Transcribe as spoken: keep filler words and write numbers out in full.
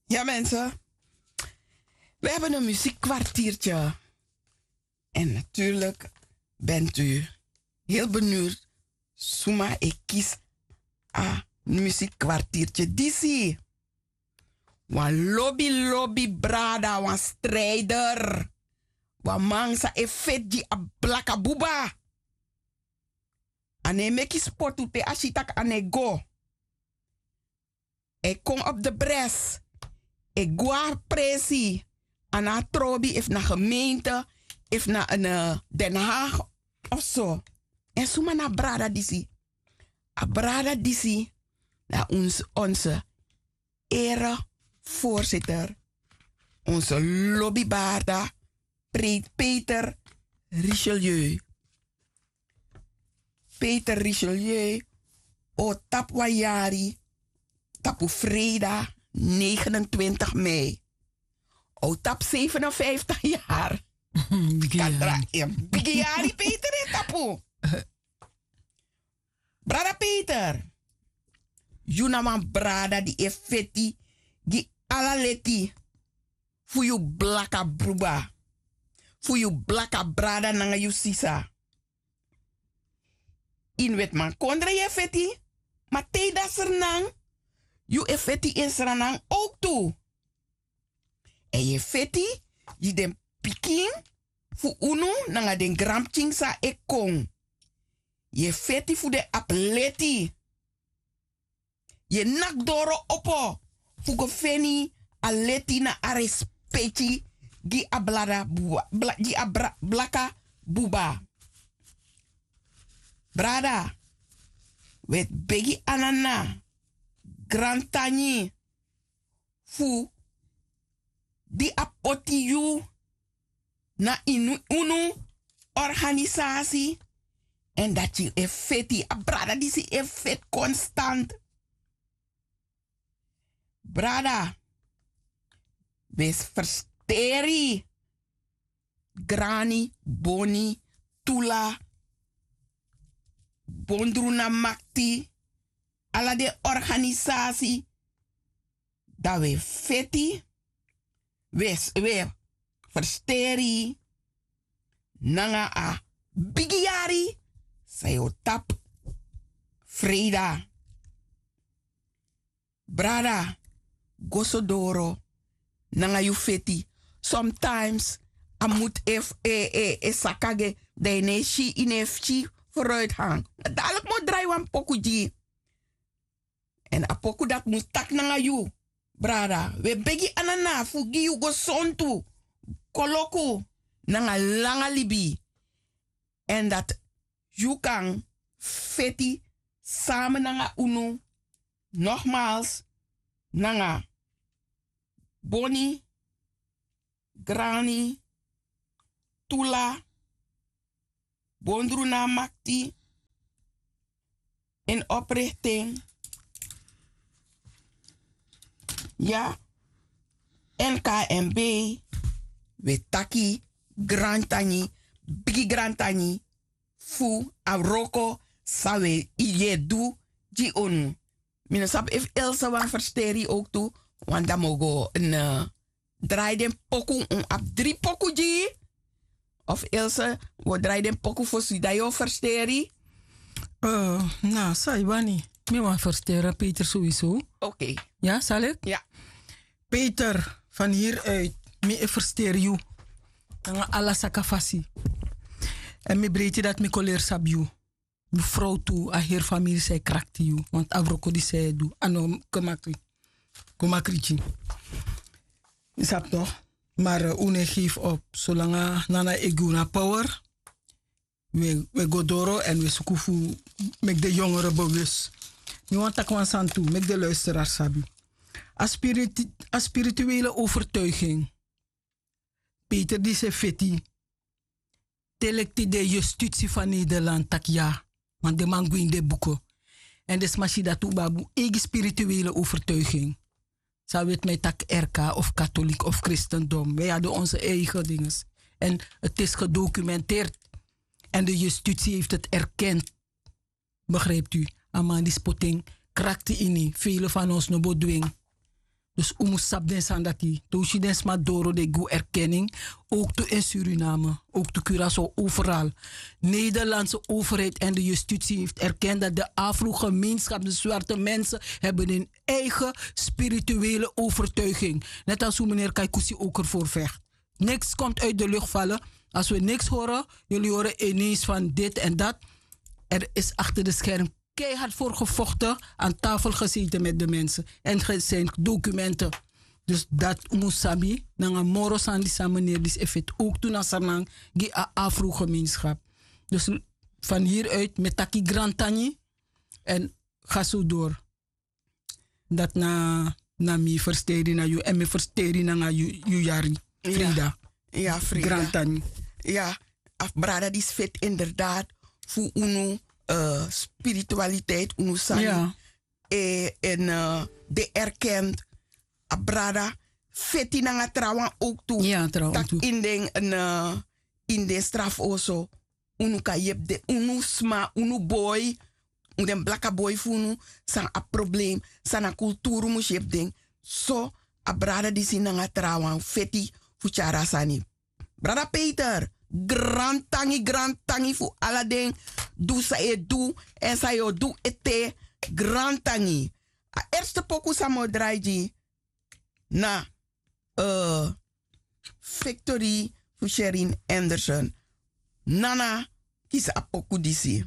Ja, mensen. We hebben een muziekkwartiertje. En natuurlijk bent u heel benieuwd. Suma e kisi a muziekkwartiertje disi. Wan lobi lobi brada, wan strijder. Wan man san e feti gi a blaka buba. A no e meki spotu te a si tak' a no e go. A e kon op de bres. A e go na presi. A no abi trobi efu na gemeente, efu na, eh, Den Haag of so. En suma na a brada disi? A brada disi na ons, onze ere voorzitter, onze lobi brada, pre-, Peter Richelieu. Peter Richelieu o tapu wan yari tapu freida negenentwintig mei. O tapu zevenenvijftig yari. Bigi yari. Kan dra-, en bigi yari Peter e tapu. Brada Peter, yu na wan brada di e feti gi ala leti fu yu blaka bruba, fu yu blaka brada nanga yu sisa. Ini wetimankondre yu e feti, ma te yu de na Sranan, yu e feti ini Sranan owktu. Èn yu e feti gi den pikin fu unu nanga den granpikin san e kon. Yu e feti fu den abi leti. Yu e naki doro opo fu go feni a leti na a respeki gi a blada buba, bla-, gi a bra-, blaka buba. Brada, wi e begi a nana, grantangi, fu di a poti yu na ini unu organisasi, èn dati yu e feti, a brada disi e feti konstant. Brada, wi e fersteri Grani, Boni, Tula, Bondruna Makti, ala den organisasi, dan wi e feti, wi e, wi e fersteri nanga a bigi yari san yu o tapu freida. Brada, go so doro nanga yu feti. Sometimes a mutu e, e, e, e saka gi en, dan yu no e si, yu no e si vooruitgang. Dadelijk mus drai wan poku gi yu. Èn a poku dati mus taki nanga yu. Brada, wi e begi a nana fu gi yu gesontu, koloku nanga langa libi. Èn dati yu kan feti samen nanga unu, nogmaals, nanga Boni, Grani, Tula, Bondruna Makti, in oprichting. Ya, N K M B, wi e taki grantangi, bigi grantangi, fu a wroko san wi e du gi unu. Mi no sabi efu Ilse wani fersteri owktu, want dan mi o go, eh, drai den poku, un abi dri poku gi yu. Of Ilse, wi o drai den poku fosi, dan yu o fersteri. Eh, na, san yu wani. Mi wani fersteri Peter sowieso. Oké. Ya, salik? Ya. Peter, van hieruit, mi e fersteri yu nanga ala saka fasi. Èn mi breiti dati mi kon leri sabi yu. Mi frow tu, a heri famiri san e krakti yu, want a wroko disi san yu e du, a no kon makri, kon makri gi yu. Yu sabi toch, maar, eh, un no e geef op. Solanga nana e gi unu a power, wi e, wi e go doro èn wi e suku fu meki den yongere bewust. Mi wani taki wan sani tu, meki den luisteraar sabi. A spiriti-, a spirituele overtuiging. Peter disi e feti. Te leki tide justitie van Nederland taki ya, want den man gwe ini den buku. Èn den sma si dati un ben abi un eigi spirituele overtuiging. San weti mi e taki R K of katholiek of christendom. Wij hadden onze eigen dinges. En het is gedocumenteerd. En de justitie heeft het erkend. Begrijpt u? A man disi poti en trakti ini fele fan ons no bo dwing. Dus un mus sabi den sani dati te un si den sma doro den gi un erkenning. Ook tu in suriname, ook tu curaçao, overal. Nederlandse overheid en de justitie heeft erkend dat de afrogemeenschap de zwarte mensen hebben hun eigen spirituele overtuiging. Net als hoe meneer kaikusi ook ervoor vecht. Niks komt uit de lucht vallen. Als we niks horen, jullie horen ineens van dit en dat. Er is achter de scherm keihard voor gevochten, aan tafel gezeten met de mensen en ge- zijn documenten. Dus dat musabi nanga moro sani di san meneer disi e feti ook tu na sernang gi a afrogemeenschap. Dus van hieruit mi e taki grantangi en ga zo door. Dat na na mi versteri na yu en mi versteri nanga yu yari. Frida. Ya, frida. Grantangi. Ya, a brada disi feti inderdaad fu unu spiritualiteit, unu sani. En den erkent a brada feti nanga trawan ook tu. Tak' in den in den strafoso unu kan yepi den unu sma, unu boi, den blaka boi fu unu, san abi problem, san na kulturu mus yepi den. So a brada disi nanga trawan feti fu tyari a sani. Brada peter, grantangi grantangi fu ala den du san yu e du, èn san yu o du ete. Grantangi. A erste poku san mi o drai gi na victory fu sherin anderson. Nana, kisi a poku disi.